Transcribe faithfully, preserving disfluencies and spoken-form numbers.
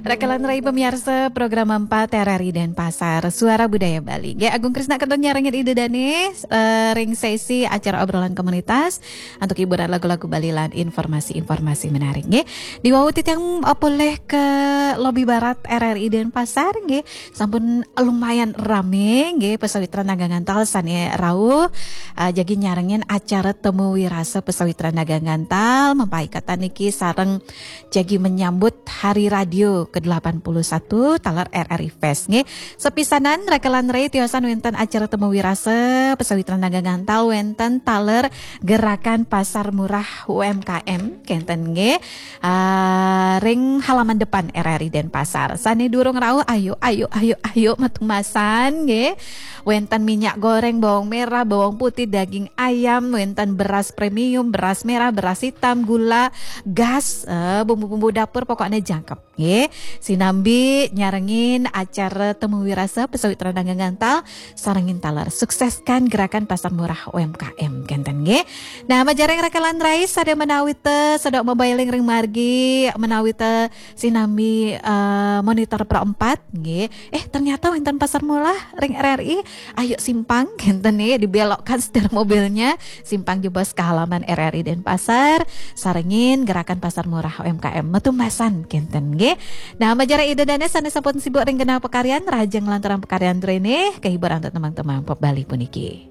Rakalan rai pamiarsa program empat R R I Denpasar, Suara Budaya Bali. Nggih, Agung Krisna kantun nyarengin Ida Dane, eh, ring sesi acara obrolan komunitas antuk hiburan lagu-lagu Bali lan informasi-informasi menarik, nggih. Diwau titiang, eh, polih ke lobi barat R R I Denpasar, nggih. Sampun lumayan rame, nggih, pasawitran dagang antal sane rauh, eh, jagi nyarengin acara Temu Wirasa Pasawitran Dagang Antal, mapaikatan niki sareng jagi menyambut Hari Radio kedelapan puluh satu taler R R I Fest, nggih. Sepisanan rakalan rai tiosan wenten acara Temu Wirasa Pasawitran Dagang Antal wenten taler Gerakan Pasar Murah U M K M kenten, nggih. Ah, ring halaman depan R R I Denpasar. Sane durung rauh, ayo, ayo, ayo, ayo, matung masan, nggih. Wenten minyak goreng, bawang merah, bawang putih, daging ayam, wenten beras premium, beras merah, beras hitam, gula, gas, eh, bumbu-bumbu dapur, pokoknya jangkep, nggih. Sinambi nyarengin acara Temu Wirasa Pasawitran Dagang Antal, sarengin taler sukseskan gerakan Pasar Murah U M K M kenten, nggih. Nah, majeng rakalan rai sane menawi te sedok mabailing ring margi, menawi te sinambi, eh, monitor Pro empat, nggih. Eh, ternyata wenten Pasar Murah ring R R I. Ayo simpang kenten, nggih, dibelokkan setir mobilnya, simpang jebos ke halaman R R I Denpasar, sarengin gerakan Pasar Murah U M K M, matung masan kenten, nggih. Nah, majeng Ida Dane sane sampun sibuk ring genah pakaryan, rahajeng lanturang pakaryan rene, kehiburan antuk tembang-tembang pop Bali puniki.